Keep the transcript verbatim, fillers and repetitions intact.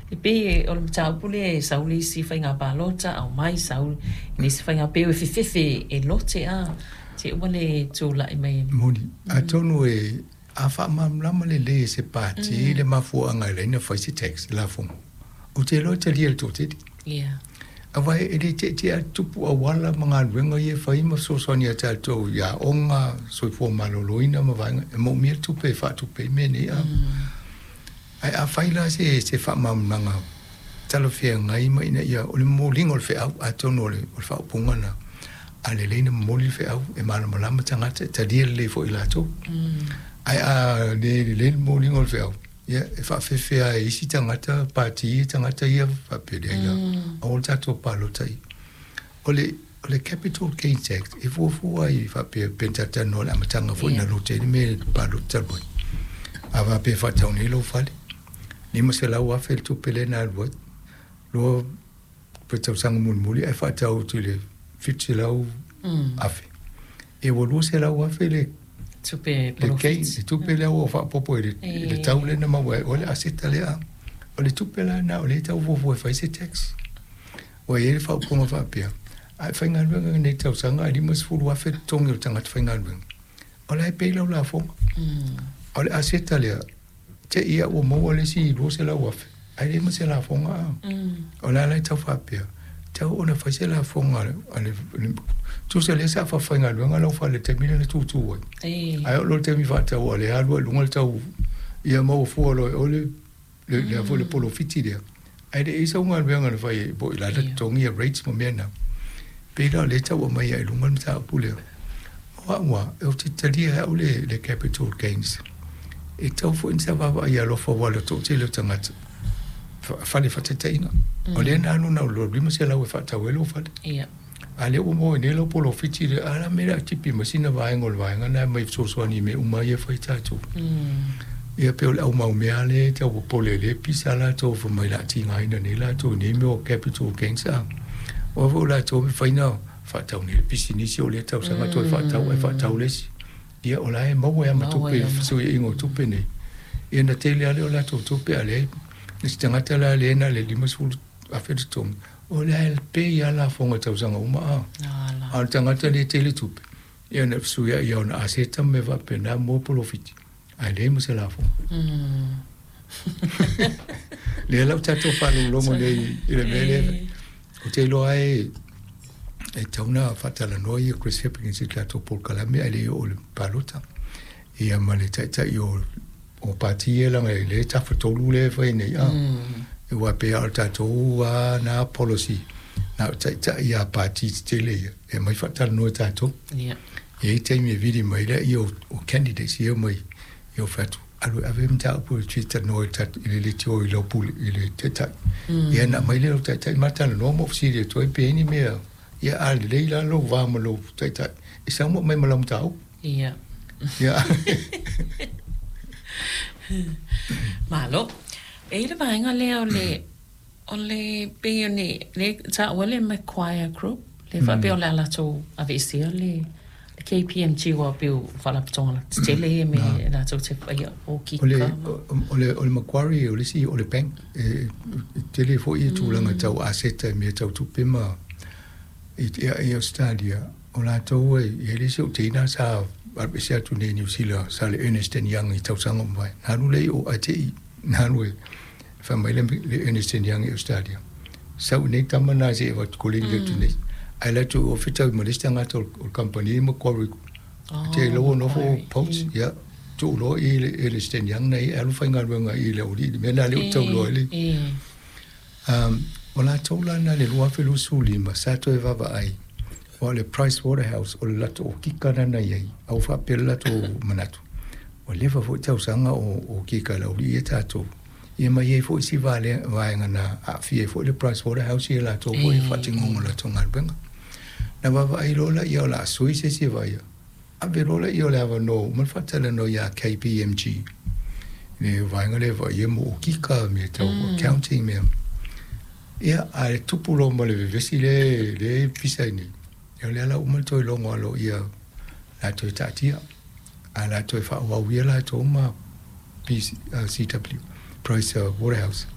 E pei o le mataupu lea e sau le isi faiga palota aumai sau i le isi faiga pei e fefefe e lote a te ua le tulai mai. Moni. Atonu e a faamalamalama lelei e se pati le mafuaaga e laina fai se tax lafoga, ou te iloa e talia e le toatele. Ia. Aua e le teetea tupu auala ma galuega ia e fai ma fesoasoani ia tatou i aoga, soifua maloloina ma vaega e moomia le tupe e faatupe ai mea nei a. Ae afai la se se faamalamalamaga talafeagai ma ina ia o le momoliga o le feau, atonu o le o le faaupuga lena, a lelei na momoli le feau e malamalama tagata e talia lelei foi e latou. Ae a le lelei le momoliga o le feau, ia e faafefea e isi tagata pati tagata ia faapea leai la, aua le tatou palota i. O le o le capital gain tax e fuafua ai faapea pe na talatalanoa i le amataga foi na lote ai le mea i le palota talu ai. A faapea e faatau nei lou fale, lima selau afe le tupe lea na alu ai, loa pe tausaga mulimuli ae faatau atu i le fitu selau afe. E ua lua selau afe le tupe le gain, le tupe lea ua faaopoopo i le, i le tau lea na maua ai oe le aseta lea. O le tupe la lena o lea e tau fuafua e fai se tax. Ua i ai le faaupuga faapea, a e faigaluega i lenei tausaga ae limasefulu afe le totogi o le tagata faigaluega, o la e pay lau lafoga. A o le aseta lea, te i ua maua le isi lua selau afe, ae leai ma se lafoga a. O le a la e tau faapea, tau ona fai se lafoga a le, tusa lea sa faafaigaluega lau fale i le taimi lea na tutu ai. Ae oo loa i le taimi faatau a lea alu ai i luga le tau, ia maua fua loa e oe le le le foi le polofiti lea. Ae le i sau galuega na fai ai po i la le totogi ia rates ma mea na. Pei la o lea e tau aumai ai i luga le mataupu lea. O au lava, ou te talia e au le, le capital gains. E tatau foi ona sa vaavaai alofa aua o le toatele o tagata fale faataitaiga. O lea na alu na o le lima selau e faatau ai lou fale. Ia. A lea ua maua ai nei lau polofiti lea, a la mea o le a tipi mai sina vaega o le vaega lena e aumai e fesoasoani i mea uma ia e fai tatou. Ia pei o le aumaumea lea e tau popole ai lea pisa latou fai mai o le a tigaina nei latou i nei mea o capital gains a. Aua foi o latou e mafai ona faatau nei le pisinisi o lea tausaga toe faatau ae faatau le isi. Ia o la e maua ai lava ma tupe i le fesuiaiga o tupe nei. Ia ona tele lava lea o latou tupe a leai le isi tagata la lea na o le limasefulu afe le totogi, o la e pay lava lafoga i tausaga uma a. A o le tagata lea e tele tupe, ia ona fesuiai ia ona aseta ma mea faapena mo polofiti, ae leai ma se lafoga. Lea la ua tatou faalogologo nei i le mea lea, ou te iloa e e tatau ona faatalanoa ia Chris Hipkins i le tatou polokalame ae le i oo i le palota. Ia ma le taitai o o pati ia leaga e lea e tafatolu lea e fai nei a. Aua e pei lava o le tatou lava na policy na o taitai lava pati tetele ia e aumai faatalanoa e tatou. Ia. E i ai taimi e vili mai ai lea o candidates ia omai ia fai atu alu e ave le mataupu e fia talanoa i le leitio i lau pule i le taitai. Ia ona aumai lea o le taitai ma talanoa ma ou fesili atu ai pe i ai ni mea ia a lelei la lou va ma lou taitai e sau ma aumai ma lau mataupu. Ia. Ia. Malo. E i ai le vaega lea o le o le pei o ni le taua le Macquarie Group le faapea o le a latou aveesea le le K P M G aua pei o faalapotopotoga tetele ia me latou te faia okika O le o le o le Macquarie o le isi o le bank e tele foi ia tulaga tau aseta i mea tau tupe ma i i Ausetalia o latou e i ai le isi ou teina sa alu ese atu nei i Niu Sila sa le Ernest and Young i tausaga ua mavae na alu lea i o ae te i na alu e fai mai le Ernest and Young i Ausetalia sau i nei tama na se i avatu koleni atu nei ae alu atu i o fetau ma le isi tagata o le kamupani Macquarie te iloa ua nofo poach ia tuu loa i le Ernest and Young nei e alu faigaluega i le aualii i le mea lena lea ou te tau iloa ai le Um, o latou la na i le lua afe luasefulu lima sa toe vaavaai aua o le Price Waterhouse o le latou okika lena na i ai a ua faapea le latou manatu ua leva foi tausaga o okika e le aualii ia tatou ia ma i ai foi isi vaega na aafia ai foi le Price Waterhouse ia latou foi i le faatinoga o latou galuega. Na vaavaai loa laia o le a sui se isi e vaaia ave loa laia o le avanoa ua uma ona faatalanoa ia K P M G le vaega lea e vaaia mo okika mea tau accounting mea. Ia, ae tupu loa ma le vevesi lea lea e pisa ai nei, ia o lea la ua uma le toe logo aloaia o le a toe taatia, ae o le a toe faaauau ia latou ma P C W, Price Waterhouse.